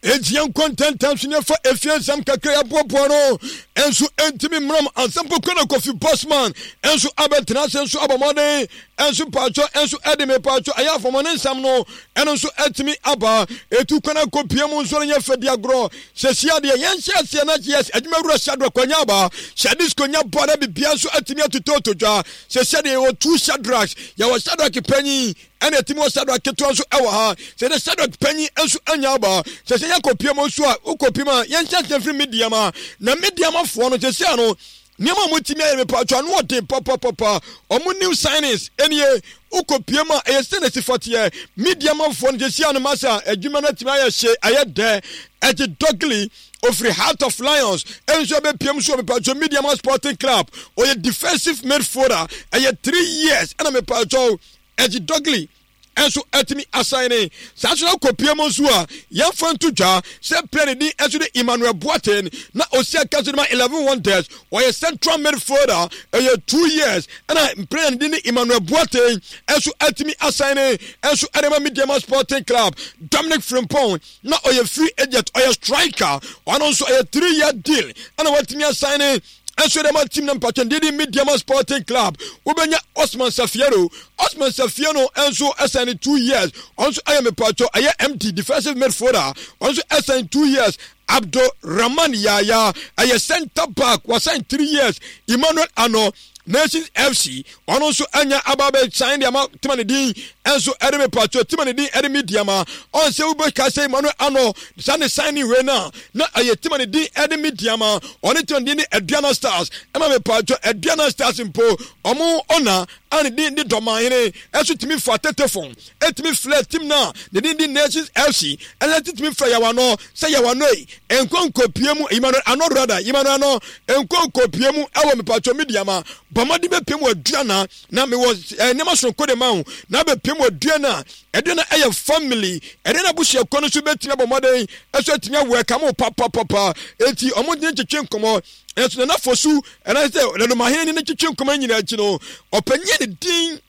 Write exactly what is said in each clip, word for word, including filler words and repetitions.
Enti yɛnkɔ ntɛntɛm so ne yɛfa efie nsɛm kakra yɛaboaboa no nso ntumi mmeram asɛm pokɔ na Kofi Bosman nso abɛtena ase nso abɔ mmɔden nso mpaatwɔ nso ɛde me paatwɔ ɛyɛ afɔmɔne nsɛm no ɛno nso atumi aba etu kwan akɔ pie mu nso no nyɛ fɛ di agorɔ sɛsi adeɛ yɛnhyɛ aseɛ na yes adwuma wura Shadrack kwanya aba hyɛ disco nya bɔ na bibia nso atumi atotɔ dwa sɛsi adeɛ yɛwɔ two Shadracks, yɛwɔ Shadrack panyin ɛna ɛtumi wɔ Shadrack ketewa nso ɛwɔ ha. Sɛ de Shadrack panyin nso anya aba sɛ sɛ yɛkɔ mu nso a wokɔ pie mu a yɛnhyɛ aseɛ firi Medeama na Medeamafoɔ no sɛsi ano nneɛma a wɔtumi ayɛ mepatwa ano ɔden papapapa. Ɔmo new signings ɛnie wokɔ pie mu a ɛyɛ sɛ na si fɔteɛ Medeamafoɔ no sɛsi ano masa adwuma no atumi ayɛ hye ayɛ dɛ. Ɛgye dɔgli ofiri Heart of Lions ɛnso ɛbɛpiem so mepatwa Medeama Sporting Club, ɔyɛ defensive midfielder, ɛyɛ three years ɛna mepatwa ɛgye dɔgli ɛnso ɛtumi asan ne saa so na kɔpie mu nso a yɛmfa nto dwa sɛ player ne din ɛnso de Emmanuel Boateng na osi aka so de ma Eleven Wonders, ɔyɛ central midfielder, ɛyɛ two years ɛna player ne din de Emmanuel Boateng ɛnso ɛtumi asan ne ɛnso ɛde ma Medeama Sporting Club. Dominic Frimpong na ɔyɛ free agent, ɔyɛ striker, ɔno nso ɛyɛ three year deal ɛna watumi asan ne ɛnso de ma team na mpatwɛn didi Medeama Sporting Club. Wobɛnya Osman Safiero, Osman Safiero nso ɛsan ne two years, ɔno nso ɛyɛ mepatwɔ ɛyɛ M D defensive midfielder, ɔno nso ɛsan two years. Abdul Rahman Yaya ɛyɛ centre back, wasan three years. Emmanuel Ano, Nations F C, ɔno nso anya aba abɛsan de ama tema ne din ɛnso ɛde mepatwɔ tema ne din ɛde Medeama. Ɔn sɛ wobɛka sɛ Emmanuel Ano saa ne sign ne wei no a na ɛyɛ tema ne din ɛde Medeama, ɔne tema ne din de Aduana Stars ɛma mepatwɔ Aduana Stars mpo ɔmo ɔna a ne din de Dɔmahene ɛso tumi fa tetefon ɛtumi flɛ team no a ne din de Nations F C ɛna titumi frɛ Yawano sɛ Yawano yi nkonkopie mu, Emmanuel Ano rada Emmanuel Ano nkonkopie mu ɛwɔ mepatwɔ Medeama, bɔmmɔden bɛpie mu Aduana na mewɔ nneɛma soronko de ma wo na bɛpie mu Aduana. Aduana ɛyɛ family, Aduana abusuakuo no nso bɛtumi abɔ mmɔden ɛso atumi awɔ ɛka mo papapapa. Eti ɔmo de twetwe nkɔmɔ ɛnso Nana Fosu ɛna sɛ Nanomahene ne twetwe nkɔmɔ nyinaa akyi no ɔpanyin ne din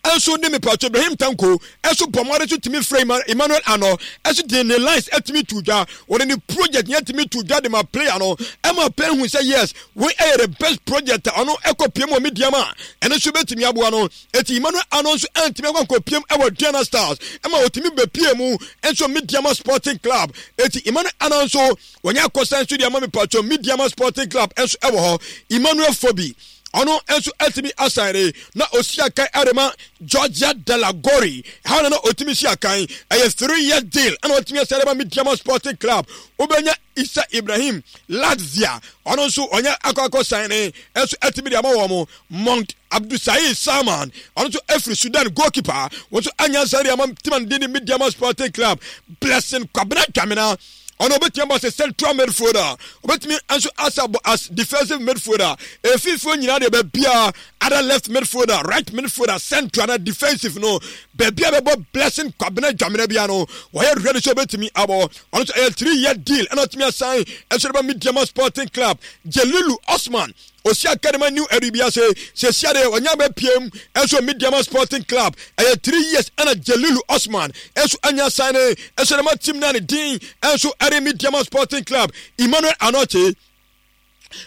ɛnso de mepatwo Ibrahim Tanko ɛnso bɔ mmɔden so tumi frɛ Emmanuel Ano ɛnso de ne lines ɛtumi tu dwa, wɔde ne project yɛn tumi tu dwa de ma player no ɛma player hu sɛ yes, wei ɛyɛ the best project a ɔno ɛkɔ piem wɔ Medeama ɛno nso bɛtumi aboa no. Eti Emmanuel Ano nso ɛntumi akɔ nkɔ piem ɛwɔ Aduana Stars ɛma otumi bɛpie mu ɛnso Medeama Sporting Club. Eti Emmanuel Ano nso wɔnyɛ akɔsan nso de ama mepatwo Medeama Sporting Club ɛnso ɛwɔ hɔ. Emmanuel Fobi ɔno nso atumi asan na osi akan ɛde Georgia Delagori ha na na otumi si akan, ɛyɛ three year deal ɛna otumi asan de ma Medeama Sporting Club. Wobɛnya Isa Ibrahim Latvia, ɔno nso ɔnyɛ akɔ akɔ san ne ɛnso atumi de ama wɔn. Monk Abdulsaid Salman, ɔno nso afiri Sudan, goalkeeper, wɔn nso anya nsa de ama team de ne Medeama Sporting Club. Blessing Kwabena Dwamena, ɔno obetumi abɔ sɛ central midfielder, obetumi nso asa bɔ as defensive midfielder. Efiifo nyinaa deɛ baabiara ada left midfielder, right midfielder, central na defensive no baabi a bɛbɔ Blessing Kwabena Dwamena bia no wɔyɛ ready sɛ obetumi abɔ. Ɔno nso ɛyɛ three year deal ɛna ɔtumi asan ɛso de ba Medeama Sporting Club. Jelilu Osman osi academy new ɛde ase sɛsia deɛ ɔnya bɛ piem ɛnso Medeama Sporting Club, ɛyɛ three years ɛna Jelilu Osman ɛnso anya sign ɛnso de ma team na ne din ɛnso ɛde Medeama Sporting Club. Emmanuel Anɔkye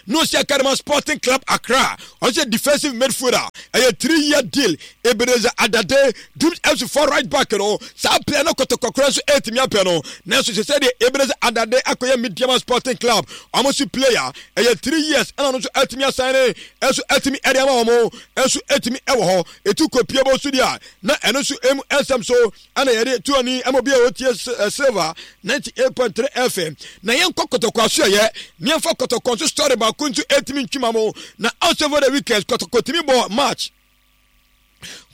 no si academy Sporting Club Accra, ɔno sɛ defensive midfielder, ɛyɛ three year deal. Ebenezer Adade, Dreams F C for right back no, saa player no kɔtɔkɔkora nso ɛtumi apɛ no nanso sɛ sɛ deɛ Ebenezer Adade akɔyɛ Medeama Sporting Club ɔmo so player, ɛyɛ three years ɛna ɔno nso ɛtumi asan ne ɛnso ɛtumi ɛde ama wɔn ɛnso ɛtumi ɛwɔ hɔ. Etu kɔ pie bɔ so deɛ na ɛno nso emu ɛnsɛm so ɛna yɛde tu ani ɛma obi a ɔtie Silver ninety eight point three F M. Na yɛn kɔ Kɔtɔkɔ aso ɛyɛ nneɛma Kɔtɔkɔ nso story baako nso ɛtumi ntwima mo na also for the weekend Kɔtɔkɔ tumi bɔ match,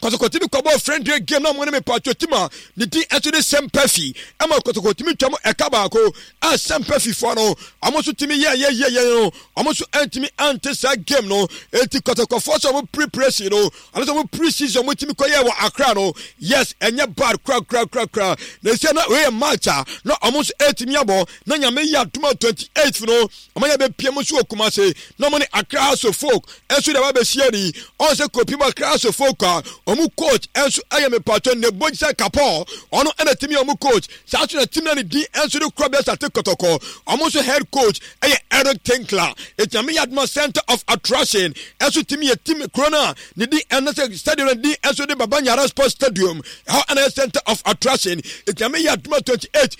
Kɔtɔkɔ tumi kɔbɔ friendly game na mo ne mepatwo team a ne din ɛso de Sɛmpɛfi ɛma Kɔtɔkɔ tumi twam ɛka baako a Sɛmpɛfi foɔ no ɔmo nso tumi yɛ yɛ yɛ yɛ no ɔmo nso ɛntumi ante saa game no. Eti Kɔtɔkɔfoɔ sɛ ɔmo preparation no ɔno sɛ ɔmo pre season ɔmo tumi kɔyɛ wɔ Accra no, yes, ɛnyɛ bad kora kora kora kora. Na esi na wei yɛ match a na ɔmo nso ɛtumi abɔ na Nyame yɛ adum a twenty eight no ɔmo yɛ bɛpie mu nso wɔ Kumase na ɔmo ne Accra Hearts of Oak ɛnso de aba bɛhyia ni. Ɔn sɛ kɔpi mu Accra Hearts of Oak a Ɔmo coach ɛnso ɛyɛ mepatɔ Nebojsa Kapɔ, ɔno ɛna timi ɔmo coach. Saa nso na team na ne din ɛnso de kura bɛsa te Kɔtɔkɔ, ɔmo nso head coach ɛyɛ Eric Tinkler. Etiame yɛ adoma center of attraction ɛnso timi yɛ team kuro no a ne din ɛna sɛ stadium no din ɛnso de Baba Nyara Sports Stadium, ɛhɔ ɛna yɛ center of attraction. Etiame yɛ adoma twenty-eight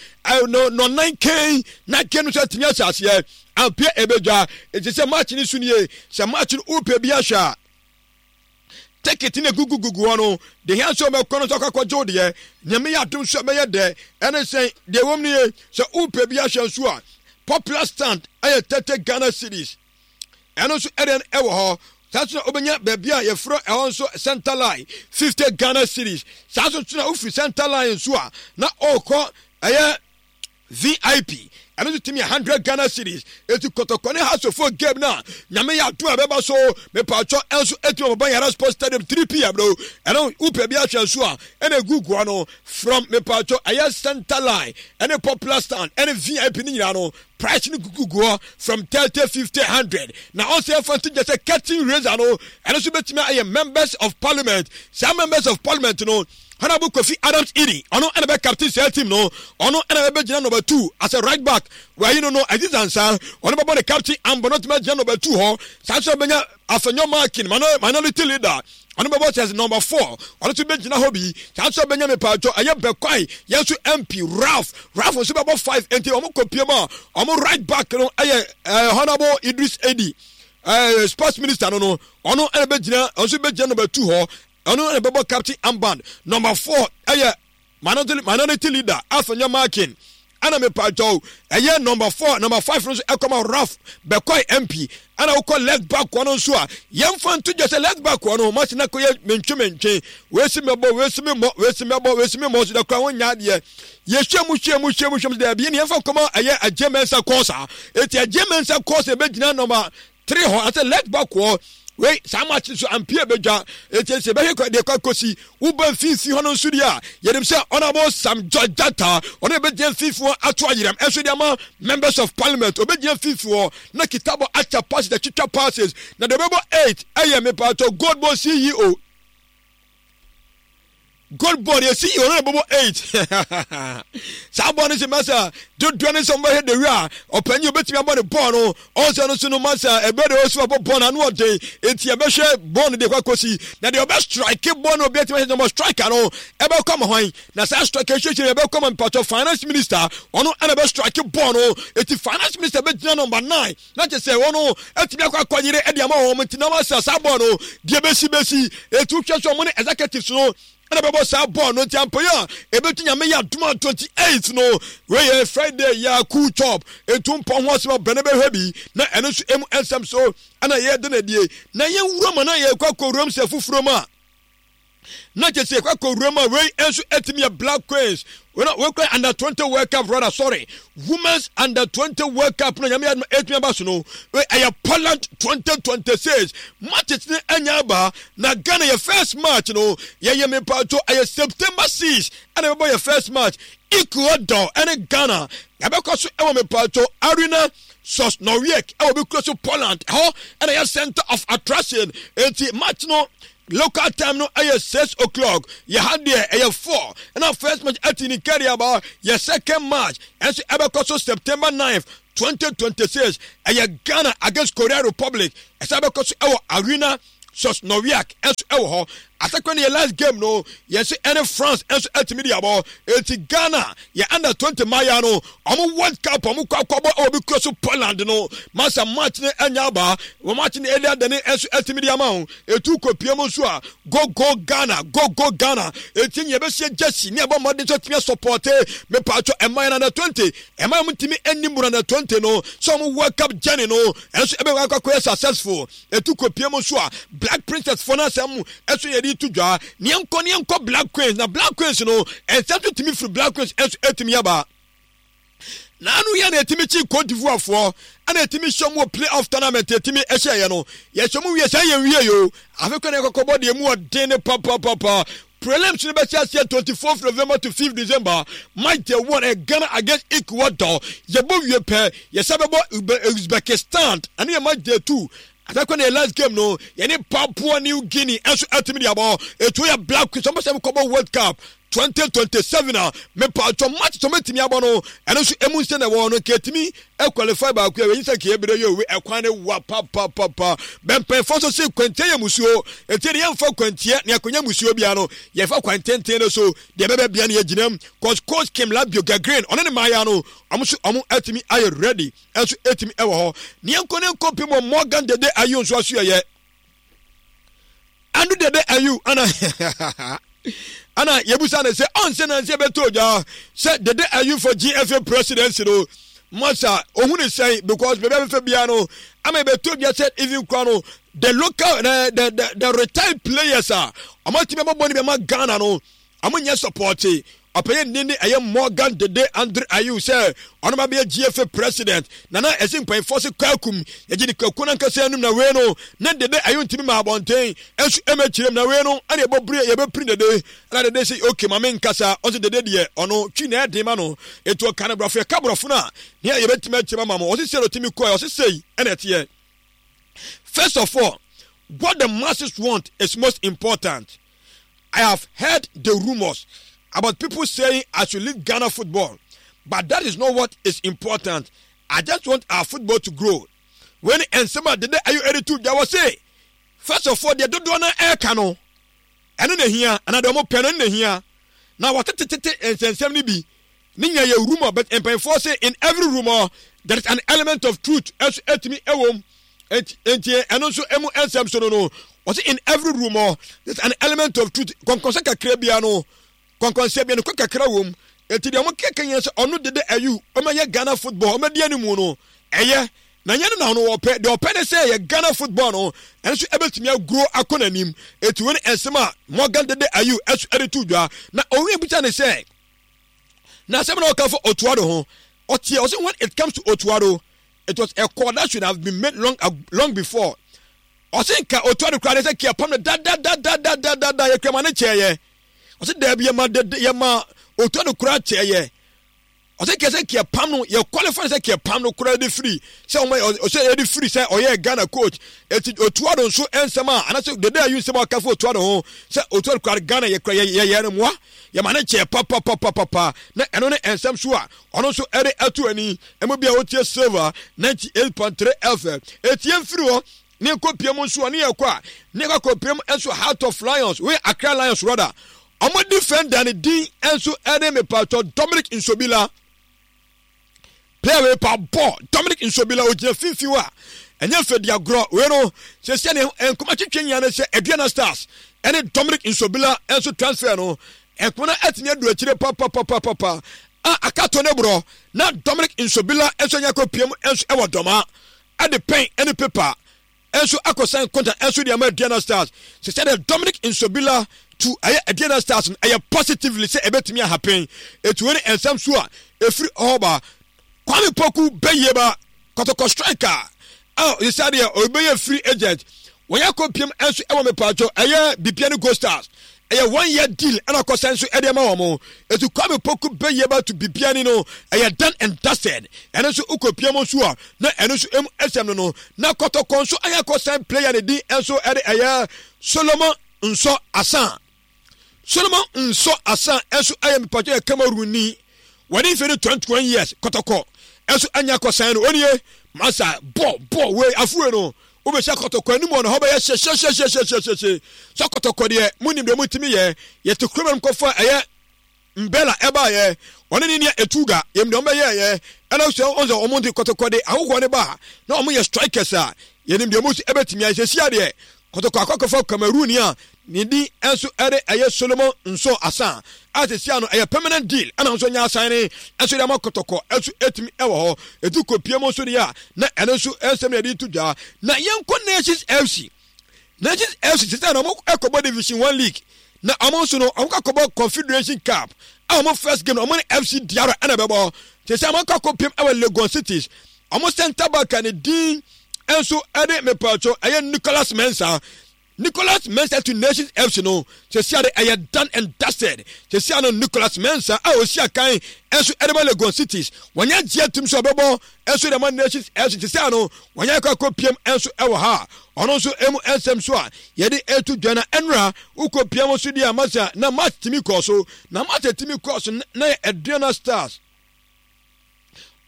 no no nine kɛn na kɛn no nso atumi ahyɛ aseɛ ampia ebedwa. Eti sɛ match ni so nie, sɛ match no wopɛ bi ahwɛ a, ticket ne gugugugu hɔ no de hia sɛ ɔbɛkɔ no nso akɔkɔgye wo deɛ. Nyame yɛ adom so ɛbɛyɛ dɛ. Ɛne sɛn deɛ wɔm no ye, sɛ wopɛ bi ahwɛ nso a, popular stand ɛyɛ thirty Ghana cedis, ɛno nso ɛdeɛ ɛwɔ hɔ. Saa nso na wobɛnya baabi a yɛfrɛ ɛhɔ nso center line, fifty Ghana cedis. Saa nso na wofiri center line nso a na ɔrekɔ ɛyɛ V I P, ɛno nso tumi hundred Ghana cedis. Eti Kɔtɔkɔ ne Hasofo game na Nyame yɛ adum a bɛba so mepatwɔ ɛnso etumi ɔbɛba Yara Sports Stadium three p m no. Ɛno wopɛ bi ahwɛ nso a, ɛna egu gua no from mepatwɔ ɛyɛ center line ɛne popular stand ɛne V I P ne nyinaa no, price no gugu guɔ from thirty, fifty, hundred. Na ɔsɛ ɛfa nti gye sɛ curtain raiser no, ɛno nso bɛtumi ayɛ members of parliament. Saa members of parliament no, Honorable Kofi Adams Iri, ɔno ɛna bɛ captain saa team no. Ɔno ɛna bɛbɛgyina number two as a right back. Wɔayi no no Aziz Ansa, ɔno bɛbɔ ne captain ambɔ no tumi agyina number two hɔ. Saa nso bɛnya Afenyo Markin, minority leader, ɔno bɛbɔ sɛ number four, ɔno nso bɛgyina hɔ bi. Saa nso bɛnya mepatwɔ ɛyɛ Bɛkwae yɛn nso M P Ralph Ralph nso bɛbɔ five. Nti ɔmo kɔ mu a, ɔmo right back no ɛyɛ ɛɛ Honorable Idris Edi, ɛɛ sports minister no no ɔno ɛna bɛgyina, ɔno nso bɛgyina number two hɔ. Ɔno ɛna bɛbɔ captain armband. Number four ɛyɛ minority minority leader Afenyo Markin, ɛna mepatwɔ ɛyɛ number four. Number five no nso ɛkɔma Ralph Bɛkɔi M P. Ɛna wokɔ left back kɔ no nso a, yɛmfa nto dwa sɛ left back kɔ no masi na kɔyɛ mentwe mentwe, weesi mɛbɔ, weesi memmɔ, weesi mɛbɔ, weesi memmɔ so da kora wonya adeɛ. Yɛhwɛ mu hwɛ mu hwɛ mu hwɛ mu daabi, ne yɛmfa nkɔma ɛyɛ Agye Mɛnsa kɔɔsa. Eti Agye Mɛnsa kɔɔsa ɛbɛgyina number three hɔ asɛ left back hɔ. Wei saa match nso ampie bɛdwa. Eti sɛ bɛhwɛ deɛ kɔ akɔsi, woba mfimfini hɔ no nso deɛ a, yɛnim sɛ Honorable Sam George Jata, ɔno bɛgyina mfimfini hɔ ato ayerɛm ɛnso de ama members of parliament. Ɔbɛgyina mfimfini hɔ na kitabɔ akyɛ passes, atwitwa passes. Na deɛ ɔbɛbɔ eight ɛyɛ mepatɔ Gold Board C E O. Gold Board yɛ C E O no na bɔbɔ eight. Saa bɔɔl no sɛ masa dodoɔ no sɛ ɔmbɛhwɛ de wi a, ɔpanyin obɛtumi abɔ ne bɔɔl no. Ɔnsɛ no so no masa ɛbɛ de ɔsi abɔ bɔɔl no ano ɔden. Eti ɛbɛhwɛ bɔɔl no deɛ kɔ akɔsi na deɛ ɔbɛ strike bɔɔl no, obi atumi ahyɛ number striker no ɛbɛkɔ ama hwan? Na saa striker hwehwɛ ɛbɛkɔ ama mpatɔ finance minister, ɔno ɛna bɛ strike bɔɔl no. Eti finance minister bɛgyina number nine na kyerɛ sɛ wɔn atumi akɔ akɔyere ɛde ama wɔn. Nti na wɔasɛ saa bɔɔl no deɛ bɛsi bɛsi etu hwɛ so, wɔn ne executives no ɛna bɛbɔ saa bɔɔl no. Nti ampɔyɛ a ɛbɛtu, Nyame yɛ adom a, twenty-eight no, wei yɛ Friday yɛ cool chop etu mpɔ ho asɛm abɛn bɛhwɛ bi. Na ɛno nso emu nsɛm so ɛna yɛde na die na yɛn wura mu na yɛkɔ akɔ wuram sɛ foforɔ mu a, na kyɛ sɛ yɛkɔ akɔ wuram a, wei nso ɛtumi yɛ Black Queens wei kura under twenty World Cup, rather sorry, Women's under twenty World Cup no, Nyame yɛ adom ɛtumi aba so no. Wei ɛyɛ Poland twenty twenty-six matches ne ɛnya aba. Na Ghana yɛ first match no yɛyɛ mepatwo ɛyɛ September six ɛna ɛbɛbɔ yɛ first match. Ecuador ɛne Ghana yɛbɛkɔ so ɛwɔ mepatwo Arena Sosnowiec ɛwɔ bi kuro so Poland ɛhɔ, ɛna yɛ center of attraction. Eti match no local time no ɛyɛ six o'clock, yɛ ha deɛ ɛyɛ four. Ɛna first match ɛti ne kari aba. Yɛ second match ɛnso ɛbɛkɔ so September nine twenty twenty-six, ɛyɛ Ghana against Korea Republic. Ɛsɛ ɛbɛkɔ so ɛwɔ Arena Sosnowiec ɛnso ɛwɔ hɔ. Asakwa ne yɛ last game no yɛnso ɛne France ɛnso ɛtumi de abɔ. Eti Ghana yɛ under twenty maya no, ɔmo World Cup ɔmo kɔ akɔbɔ ɛwɔ bi kuro so Poland no, masa match ne ɛnya aba. Wɔn match ne ɛde adane ɛnso ɛtumi de ama wo. Etu kɔ mu nso a, go go Ghana, go go Ghana. Eti nyɛ bɛhyɛ jersey ne ɛbɔ mmɔden nso ɛtumi asupport mepatwɔ ɛman yɛn under twenty. Ɛman mu ntumi ɛnim under twenty no sɛ ɔmo World Cup journey no ɛnso ɛbɛkɔ akɔyɛ successful. Etu kɔ mu nso a, Black Princess fo no asɛm ɛso yɛde to dwa. Neɛ nkɔ neɛ nkɔ Black Queens, na Black Queens no ɛnsɛm so tumi firi Black Queens ɛnso ɛtumi aba. Naanu yɛ na ɛtumi kyi Cote d'Ivoire foɔ, ɛna ɛtumi hyɛ mu wɔ play off tournament. Ɛtumi ɛhyɛ yɛ no, yɛhyɛ mu wie sɛ yɛn wie yo. Afei kwan yɛ kɔkɔbɔ deɛ mu ɔden ne papapapa. Prelims no bɛhyɛ aseɛ twenty-fourth November to fifth December. Match day one ɛ Ghana against Ecuador. Yɛbɔ wie pɛ, yɛsɛ bɛbɔ Uzbekistan, ɛne yɛ match day two. Asakɔ ne last game no, yɛne Papua New Guinea ɛnso ɛtumi de abɔ. Etu yɛ Black Queens, ɔmo sɛ kɔbɔ World Cup twenty twenty-seven a, mepatwɔ, match sɛ ɔmɛtumi abɔ no, ɛno nso emu nsɛ na ɛwɔ no nkɛtumi qualify baako a wɔyi sɛ nkɛyɛ bere yɛ owe ɛkwan ne wa papapapa. Bɛmpɛnfo nso se kwantia yɛ musuo, eti de yɛmfa kwantia ne akonnwa musuo bia no, yɛfa kwan tenten no so deɛ ɛbɛbɛ bia no yɛgyina mu, cause Coach Kim Labio Gagrin ɔne ne mmaaya no, ɔmo nso ɔmo atumi ayɛ ready, ɛnso etumi ɛwɔ hɔ. Ne yɛnkɔ ne nkɔ pim wɔ Morgan Dede Ayew nso aso yɛyɛ Ando Dede Ayew ana ana yɛbusa ne sɛ ɔnsɛ nansi ɛbɛtɔ ogya sɛ Dede Ayew for G F A presidency no masa ohun ne sɛn, because baabi a bɛfɛ biara no ama ɛbɛtɔ ogya sɛ even kora no, the local the the the, the retired players a ɔmo atumi abɔbɔ ne bi ama Ghana no, ɔmo nyɛ support ɔpɛyɛ nni ne ɛyɛ Morgan Dede Andre Ayew sɛ ɔno ma bɛyɛ G F A president. Nana ɛsi mpanyinfoɔ se kwakum yɛgye ne kwaku no ankasa anim na wei no ne Dede Ayew ntumi ma abɔnten ɛnso ɛmɛ kyerɛ mu na wei no ɛna ɛbɔ bere yɛbɛpiri Dede. Ɛna Dede sɛ okay, maame nkasa. Ɔsɛ Dede deɛ, ɔno twi na ɛden ma no, etu ɔka no borɔfo, yɛka borɔfo no a ne yɛbɛtumi akyerɛ ma mo. Ɔsɛ sɛ ɔtumi kɔɛ, ɔsɛ sɛyi ɛna ɛteɛ. First of all, what the masses want is most important. I have heard the rumors about people saying I should leave Ghana football, but that is not what is important. I just want our football to grow. When nsɛm a Dede Ayew ɛde to dwa wɔ se, first of all, deɛ dodoɔ no ɛreka no, ɛno na ehia, anaa deɛ ɔmo pɛ no, ɛno na ehia. Na wɔtetetete nsɛnsɛm no bi ne nya yɛ rumor, but mpanyinfoɔ say in every rumor there is an element of truth ɛso ɛtumi ɛwɔ mu. Nti ɛno nso ɛmu nsɛm so no no wɔsi in every rumor there is an element of truth. Kɔnkɔnsɛ kakra bia no, kɔnkɔnsɛ bia no kɔ kakra wɔ mu. Eti deɛ ɔmo keka nyina sɛ ɔno Dede Ayew ɔmo yɛ Ghana football, ɔmo di anim no ɛyɛ na nyɛ no na ɔno wɔpɛ. Deɛ ɔpɛ ne sɛ yɛ Ghana football no, ɛno nso ɛbɛtumi aguro akɔ n'anim. Eti wɔn nsɛm a Morgan Dede Ayew ɛso ɛde to dwa na owi ebisa ne sɛ na asɛm na ɔka fɔ Otto Addo ho, ɔteɛ ɔsɛ when it comes to Otto Addo, it was a call that should have been made long long before. Ɔsɛ nka Otto Addo koraa de sɛ kia pam no dadadadadadada, yɛ kura ma ne kyɛɛ yɛ. Ɔsɛ daabi, yɛ ma dede, yɛ ma Otto Addo koraa kyɛɛ yɛ. Ɔsɛ kɛ sɛ kia pam no, yɛ qualify sɛ kia pam no koraa de firi sɛ ɔmo ɔsɛ yɛde firi sɛ ɔyɛ Ghana coach. Eti Otto Addo nso nsɛm a anasɛ Dede Ayew nsɛm a ɔka fo Otto Addo ho sɛ Otto Addo koraa Ghana yɛ kura yɛ yɛ yɛ no mmoa, yɛ ma ne kyɛɛ papapapapa, na ɛno ne nsɛm so a ɔno nso ɛde ato ani. Ɛmu bi a wotie Silver ninety-eight point three F M. Etie mfiri hɔ ne nkɔpie mu nso a ne yɛkɔ a ne yɛkɔ akɔpie mu nso Heart of Lions wei, Accra Lions rather, ɔmo defender ne din nso ɛne mepatɔ Dominic Nsobila. Player wei pa bɔ Dominic Nsobila, ogyina finfin hɔ a ɛnyɛ fɛ di agorɔ. Wei no sɛsɛ ne nkɔmɔ twitwi nyina ne sɛ Aduana Stars ɛne Dominic Nsobila nso transfer no, nkɔmɔ no atumi adu akyire papapapapa a akato ne borɔ na Dominic Nsobila nso anya kɔ mu nso ɛwɔ dɔma ɛde pɛn ɛne paper nso akɔsan contract nso de ama Aduana Stars. Sɛ sɛ Dominic Nsobila to ɛyɛ Aduana Stars no, ɛyɛ positively sɛ ɛbɛtumi ahappen. Etu wei ne nsɛm so a efiri ɔba Kwame Poku bɛyie ba Kɔtɔkɔ striker a ɔsɛ deɛ ɔbɛyɛ free agent, wɔyɛ akɔ piem nso ɛwɔ mepatwɔ ɛyɛ Bibiani Gold Stars. Ɛyɛ one year deal ɛna akɔsɛn nso ɛde ama wɔn. Etu Kwame Poku bɛyie ba to Bibiani no, ɛyɛ done and dusted. Ɛno nso wokɔ piem nso a na ɛno nso emu ɛsɛm no no na Kɔtɔkɔ nso ayɛ akɔsɛn player ne din nso ɛde ɛyɛ Solomon Nsɔ Asan. Solomon Nsɔ Asan nso ɛyɛ mepatwɔ yɛ Cameroon ni, wɔde mfe no twenty-one years. Kɔtɔkɔ ɛnso anya akɔsan no onie masa bɔ bɔ wei afuwe no wobɛhyɛ Kɔtɔkɔ anim wɔ no hɔ bɛyɛ hyehyɛhyɛhyɛhyɛhyɛ sɛ Kɔtɔkɔ deɛ monim deɛ motumi yɛ. Yɛte kurom no kɔfa ɛyɛ Mbɛla ɛbaayɛ, ɔne ne nua Etuga, yɛm deɛ ɔmbɛyɛɛyɛ. Ɛna sɛ ɔn sɛ ɔmo de Kɔtɔkɔ de ahohoɔ ne ba na ɔmo yɛ strikers a, yɛnim deɛ ɔmo si ɛbɛtumi ayɛ. Sɛsi adeɛ Kɔtɔkɔ akɔkɔfa Cameroon a ne din nso ɛde ɛyɛ Solomon Nso Asan a sɛsi ano ɛyɛ permanent deal, ɛna nso nya asan ne nso de ama Kɔtɔkɔ nso ɛtumi ɛwɔ hɔ. Etu kɔ mu nso deɛ a na ɛno nso ɛnsɛm na yɛde to dwa. Na yɛnkɔ Nations F C. Nations F C sɛ na ɔmo ɛkɔbɔ Division One League, na ɔmo nso no ɔmo kɔkɔbɔ Confederation Cup a ɔmo first game no, ɔmo ne F C Diara ɛna ɛbɛbɔ. Te sɛ ɔmo akɔ akɔpiem ɛwɔ Legon Cities. Ɔmo centre back a ne din nso ɛde mepatwo ɛyɛ Nicholas Mensah. Nicholas Mensah to Nations F C no, sɛsia de ɛyɛ done and dusted. Sɛsia no, Nicholas Mensah a osi akan ɛnso ɛde ma Legon Cities, wɔnyɛ gye atum sɛ ɔbɛbɔ ɛnso de ma Nations F C. Sɛsia no wɔnyɛ akɔ akɔ piem ɛnso ɛwɔ ha. Ɔno nso emu ɛnsɛm so a yɛde etu dwa na ɛnura wokɔ piem nso deɛ amasa na match timi kɔɔ so, na match timi kɔɔ so na yɛ Aduana Stars,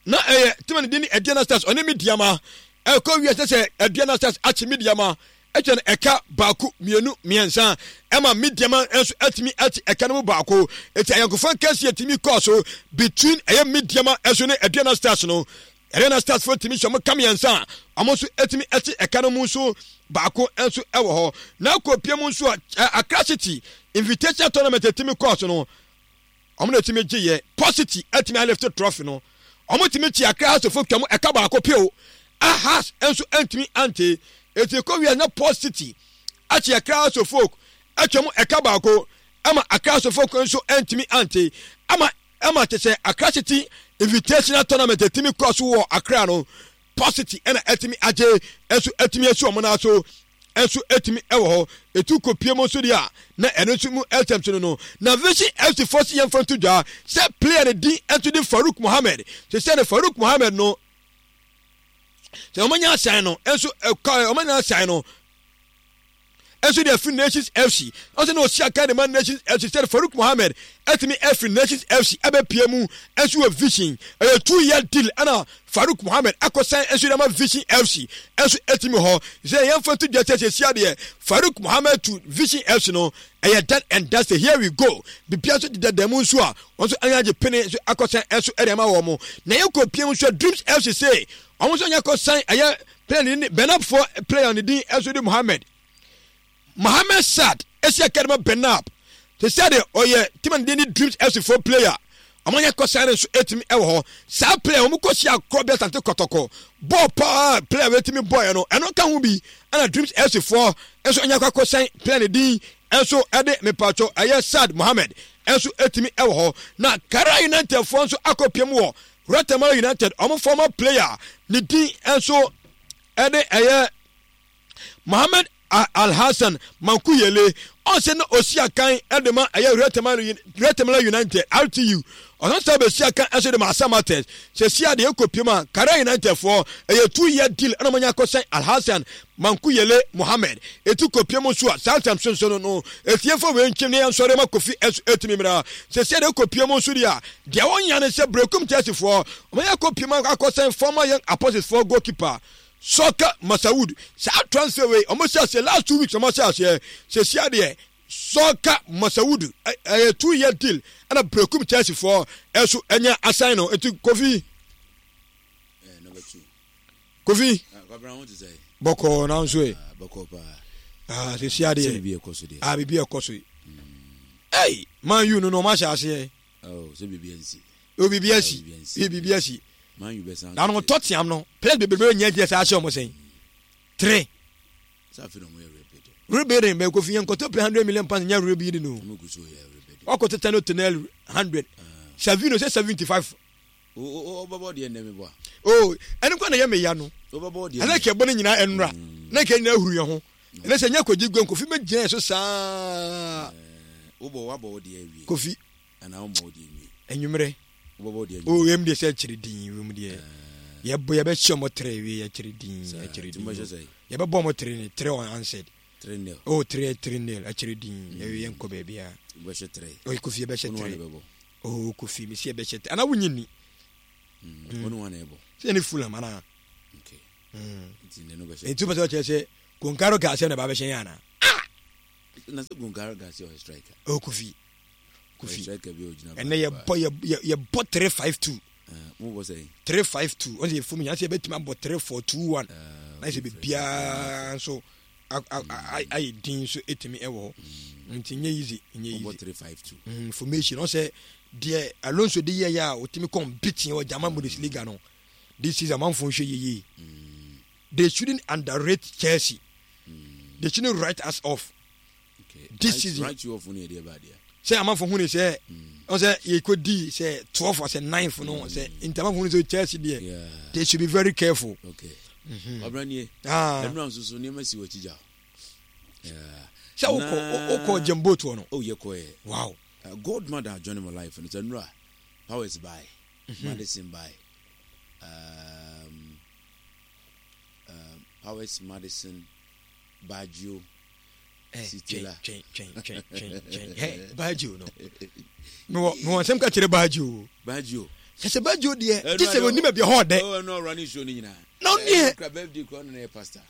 na ɛyɛ team no din ne Aduana Stars ɔne Medeama. Ɛkɔ wie sɛ sɛ Aduana Stars akye Medeama ɛkyɛ no ɛka baako, mmienu, mmiɛnsa, ɛma Medeama nso atumi ate ɛka no mu baako. Eti ayɔnkofa nkɛse atumi kɔɔ so between ɛyɛ Medeama ɛso ne Aduana Stars no. Aduana Stars fo tumi hyɛ ɔmo ka mmiɛnsa a, ɔmo nso atumi ate ɛka no mu nso baako nso ɛwɔ hɔ. Na akɔ pie mu nso a, Accra City Invitation Tournament atumi kɔɔ so no, ɔmo na etumi gye yɛ. Port City atumi alift trophy no. Ɔmo tumi kyi Accra Hearts of twam ɛka baako peo a Hearts nso ntumi ante. Eti kɔ wia na Port City akyi Accra Hearts of Oak atwam ɛka baako ama Accra Hearts of Oak nso ntumi ante, ama ama te sɛ Accra City Invitational Tournament etumi kɔ so wɔ Accra no, Port City ɛna ɛtumi agye nso, ɛtumi asi wɔn nan so nso, ɛtumi ɛwɔ hɔ. Etu kɔ mu nso deɛ a, na ɛno nso mu ɛsɛm so no no Na Vision F C fo si yɛn fa nto dwa sɛ player ne din nso de Farouk Mohammed. Sɛ sɛ ne Farouk Mohammed no sɛ wɔn anya asan no nso ɛka wɔn anya asan no nso de afiri Nations F C. Ɔsɛ na ɔsi aka de ma Nations F C sɛ Farouk Mohammed ɛtumi afiri Nations F C ɛbɛpie mu nso wɔ Vision. Ɛyɛ two year deal ɛna Farouk Mohammed akɔsan nso de ama Vision F C nso ɛtumi hɔ. Sɛ yɛmfa to dwa sɛ sɛsi adeɛ, Farouk Mohammed to Vision F C no, ɛyɛ done and dusted. Here we go. Bibia nso deda mu nso a wɔn nso anya agye pene nso akɔsan nso ɛde ama wɔn mo. Na yɛkɔ pie mu nso, Dreams F C sɛ wɔn nso anya akɔsan ɛyɛ player ne Benapfoɔ player ne din nso de Mohammed Mohammed Sad esi akadama Benap te sɛ de ɔyɛ team ne din ne Dreams F C foɔ player. Ɔmo anyɛ kɔsan no nso etumi ɛwɔ hɔ. Saa player wɔn kɔ si akorɔ bi Asante Kɔtɔkɔ bɔɔl paa, player wetumi bɔɔl no, ɛno ka ho bi ɛna Dreams F C foɔ nso anya kɔ akɔsan player ne din nso ɛde mipatso ɛyɛ Sad Mohammed nso etumi ɛwɔ hɔ. Na Karela United foɔ nso akɔ piem wɔ Real United, ɔmo former player ne din nso ɛde ɛyɛ Mohammed Alhassan Mankuyele. Ɔsɛ na osi akan ɛde ma ɛyɛ Real United, R T U. Ɔsan sɛ bɛsi akan ɛso de ma Asamates. Sɛ si adeɛ ɛkɔ piem a, Karela United foɔ, ɛyɛ two year deal ɛna ɔmanya akɔsɛn Alhassan Mankuyele Mohammed. Ɛtu kɔ piem nso a, saa nsɛm sonso no no ɛtiefo wei nkyem ne yɛnsɔre ma Kofi ɛso ɛtumi mmra. Sɛ si adeɛ ɛkɔ piem nso deɛ a, deɛ wɔnya ne sɛ Brekum Chelsea foɔ ɔmanya akɔ piem akɔsɛn former Young Apostles foɔ goalkeeper Sɔka Masawood. Saa transfer wei, ɔmo hyɛ aseɛ last two weeks, ɔmo ahyɛ aseɛ. Sɛsi adeɛ, Sɔka Masawood, ɛyɛ two year deal ɛna Brekum Chelsea foɔ ɛso ɛnya asan no. Nti Kofi, Kofi, bɔkɔɔ nanso ɛ ah sɛsi adeɛ ah biribi ɛkɔ so yi, ɛy Man U no no ɔmo ahyɛ aseɛ. O, biribi asi, biribi asi na no Tottenham no players bebrebe nyɛ gyina sɛ ahyɛ ɔmo sɛn three rebuilding. Bɛ Kofi, yɛn nkɔtɔ play hundred million pounds nyɛ rebuilding o. Wakɔ tete no Tonali hundred, Savino sɛ seventy five. Wobɛbɔ deɛ nnɛ meboa. O, ɛno kɔ na yɛ meya no, ɛna kɛ bɔ no nyinaa ɛnora na kɛ nyinaa huru yɛn ho. Ɛnɛ sɛ nyɛ kɔgye gua, Kofi bɛgyina yɛ so saa. Wobɔ wabɔ wo deɛ awie. Kofi. Anaa womɔ wo deɛ nwie? Anwummerɛ. Wobɛbɔ wo deɛ? O, yɛm deɛ sɛ akyiri din wom deɛ, yɛbɔ yɛbɛhyɛ ɔmo tere wie, yɛkyiri din, akyiri din, yɛbɛbɔ ɔmo tere ne three unanswered. Three nil. Oh, three three nil, akyiri din, yɛwie yɛnkɔ baabi a. Wobɛhyɛ three? O, Kofi, yɛbɛhyɛ three. Oh, Kofi, mesi yɛbɛhyɛ three anaa wonyi ni? Wɔne wɔn na ɛbɔ. Sɛ yɛne Fulham anaa? Nti wopɛ sɛ ɔkyerɛ sɛ Goncalo Garcia na ɛba bɛhyɛ yɛn anaa? Ah! Na sɛ Goncalo Garcia ɔyɛ striker. Oh, Kofi, Kofi, ɛnɛ yɛbɔ yɛbɔ three five two. Three five two, ɔsɛ yɛfom yɛn sɛ yɛbɛtumi abɔ three four two one, na sɛ biribiara nso ayɛ din nso ɛtumi ɛwɔ hɔ. Nti nyɛ easy, nyɛ easy formation. Ɔsɛ deɛ Alonso de yɛyɛ a ɔtumi kɔn beating wɔ German Bundesliga no this season, amanfo nhwɛ yie. They shouldn't underrate Chelsea. They shouldn't write us off this season. Write you off ne yɛdeɛ ba adeɛ. Sɛ amanfo hu ne sɛ ɔsɛ yɛkɔ di sɛ twelve sɛ ninth no sɛ nti amanfo hu ne sɛ Chelsea deɛ, they should be very careful. Okay, ɔbɛn nie, ɛnura nso so nneɛma si wɔ akyi gya. Sɛ wokɔ wokɔ Jemboat hɔ no. Oh, yɛkɔɛ. Wow. Uh, Godmother join my life no sɛ nnura Powers bae, mm-hmm. Madison bae, um, um, Powers, Madison, Baggio, eh, twɛn twɛn twɛn twɛn twɛn twɛn hɛ Baggio no mewɔ mewɔ nsɛm ka kyerɛ Baggio. Baggio sɛ sɛ Baggio deɛ gye sɛ onim baabi ɛhɔ ɔdɛ. Ɛno ɔwura ne nsuo no nyinaa. Na ɔneɛ kura birthday kura ɔno na yɛ pastor.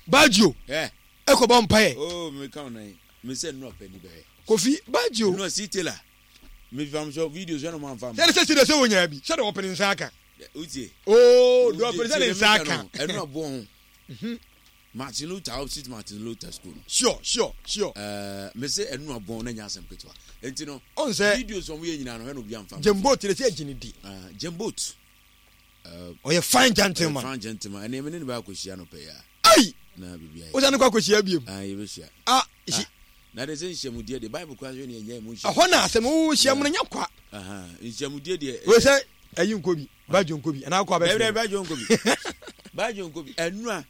Baggio ɛkɔ bɔ mpaeɛ. Oh, meka wo nan mesɛ nnura pɛ ni bɛhwɛ. Kofi Baggio. Nnura si Taylor mefam so videos ɛna ɔmo anfa. Sɛ sɛ sɛ sɛ wonya bi sɛ de ɔpene nsa aka. Wotie. Oo de ɔpene sɛ ne nsa aka. Ɛno aboɔ ho. Mhm. Martin Luther opposite Martin Luther school. Sure sure sure. Ɛɛ mese ɛnu abɔn na nya asɛm ketewa. Nti no. Ɔn sɛ. Videos wɔn yɛ nyinaa no ɛna obi anfa. Jemboat de sɛ ɛgyina di. Jemboat. Ɔyɛ fine gentleman. Ɔyɛ fine gentleman. Ɛnna ɛmi ne ne bɛ akɔhyia no pɛ ya. Ayi. Na bibi ayɛ. Wosan ne kɔ akɔhyia biem. Ah yɛ bɛ hyia. Ah si. Na de sɛ nhyiamudeɛ deɛ Bible kura sɛ ne ɛnyɛ mu nhyia. Ɛhɔ na asɛm wo hyia mu no nyɛ kwa. Nhyiamudeɛ deɛ. Wo sɛ ɛyi nkɔ bi Bajo nkɔ bi anaa akɔ abɛfrɛ. Ɛbɛrɛ Bajo nkɔ bi. Bajo nkɔ bi ɛnura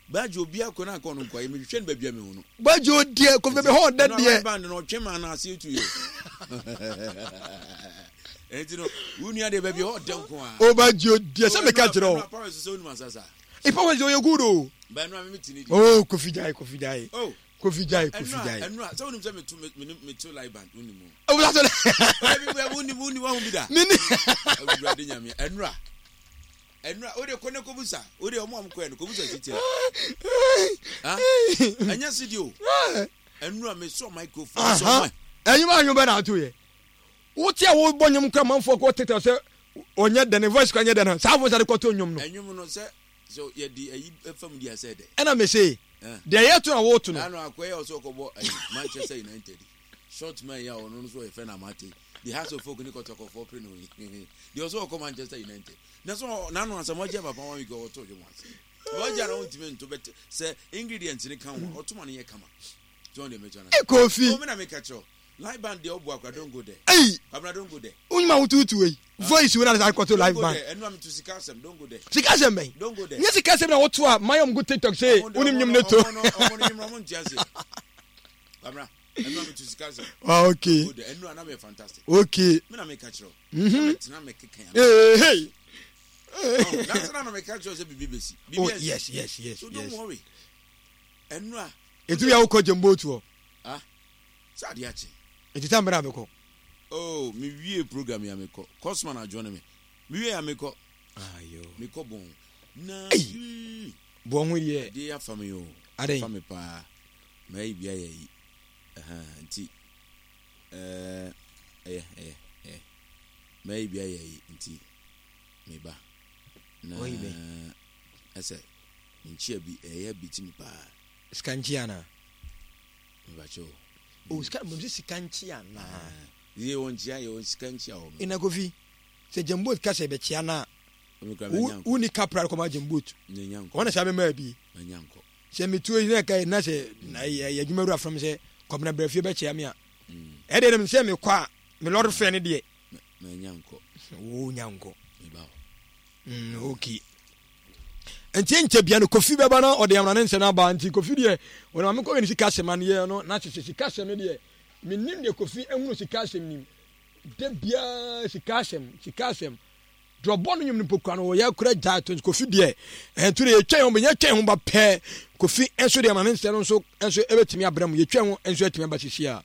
Bajo obi akɔ na akɔ no nkɔ yɛ mehwehwɛ no baabi a mehu no. Bajo deɛ kɔfɛ bɛ hɔ ɔdɛ deɛ. Ɛnura band no ɔtwe ma na ase etu yɛ. Ɛnti no wo nua deɛ baabi hɔ ɔdɛ nko a. O Bajo deɛ sɛ meka kyerɛ o. Ɛnura powers sɛ onim asasa. Ipa wɔ sɛ ɔyɛ good o. Bɛnura mi ti ni di. Oh Kofi gyae Kofi gyae. Oh. Kofi gyae Kofi gyae. Ɛnura sɛ wonim sɛ meto me meto live band wonim o. O sa so. Wonim wonim wahu bi da. Mini. Awurade Nyame ɛnura ɛnura o de kɔ ne kobusa o de ɔmo a mo kɔ yɛ no kobusa si tia. Ɛnyɛ si di o. Ɛnura me sɔ microphone sɔ mic. Ɛnyɛ ma anwom bɛ na ato yɛ. Wote a wobɔ nnwom kora manfoɔ kɔ tete sɛ ɔnyɛ dɛ ne voice kora nyɛ dɛ no saa voice ade kɔto nnwom no. Ɛnwom no sɛ so yɛde ayi fam di asɛ dɛ. Ɛna me se deɛ yɛto na woto no. Ano akɔyɛ ɔsɛ ɔkɔbɔ ayi Manchester United short man yi a ɔno nso ɔyɛ fɛ na amate the House of Folk ne kɔtɔkɔfoɔ pere no yi deɛ ɔsɛ ɔkɔ Manchester United na so n'ano asɛm ɔgye papa one week ɔtɔ dwom ase ɔgye na ɔntumi nto bɛte sɛ ingredients ne ka ho ɔtoma no yɛ kama so ɔn deɛ mɛtwa no Kofi ɔmena meka kyerɛ live band deɛ ɔbu akora don't go there. Eyi. Kwabena don't go there. Wonyima wotuutu eyi. Voice wo na de akɔto live band. Ɛnu ami tu sika asɛm don't go there. Sika asɛm bɛn. Don't go there. Nye sika asɛm na woto a mayɛ ɔmo go TikTok sɛ wonim nwom ne to. Ɔmo no nwom ɔmo nti ase. Kwabena ɛnu ami tu sika asɛm. Ah okay. Go there ɛnu anam yɛ fantastic. Okay. Mi na mi ka kyerɛ o. Mhm. Tena mi keka ya. Ee hey. Nansi na mi ka kyerɛ sɛ bibi besi. Oh yes yes yes. So don't worry. Ɛnu a. Etu yà wokɔ jɛmbo tuɔ. Ah. Sɛ adeɛ akye. Nti time bɛn na mekɔ? Oh, me wie program yi a mekɔ. Cosman adjourn me. Me wie a mekɔ. Ayo. Mekɔ bɔn. Na. Ei. Bɔn ho deɛ. Adeɛ afa me o. Aden. Afa me paa. Mɛyi bi ayɛ yi. Ɛhɛn nti. Ɛɛ ɛyɛ ɛyɛ ɛyɛ. Mɛyi bi ayɛ yi nti. Meba. Na. Oyi bɛn. Ɛsɛ. Nkyia bi ɛyɛ bi ti mi paa. Sika nkyia na. Mebakyɛ o. O sika mbom sɛ sika nkyia naa. Yɛ wɔ nkyia yɛ wɔ sika nkyia wɔ. Ina Kofi sɛ Jambot ka sɛ bɛkyia na wo ni kapra kɔma Jambot. Wɔn na saa bɛma bi. Sɛ metuo yi na ɛka na sɛ yɛ adwuma wura fam sɛ kɔmina brɛ fie bɛkyia me a. Ɛdeɛ nam sɛ mekɔ a me lɔre fɛ ne deɛ. Wo nya nkɔ. Mm, okay. Nti nkyɛ bia no Kofi bɛba na ɔde amena ne nsɛm no aba. Nti Kofi deɛ ɔde maame kɔhwɛ ne sika asɛm aneɛ no na kyesɛ sika asɛm no deɛ menim deɛ Kofi ehunu sika asɛm nim da biara sika asɛm sika asɛm deɛ ɔbɔ no nwom no mpo kura no wɔyɛ kura gyae to. Kofi deɛ ɛnto deɛ yɛtwa ho yɛtwa ho ba pɛɛ Kofi nso deɛ amena ne nsɛm no nso nso ɛbɛtumi abrɛ mu yɛtwa ho nso atumi aba sisi a.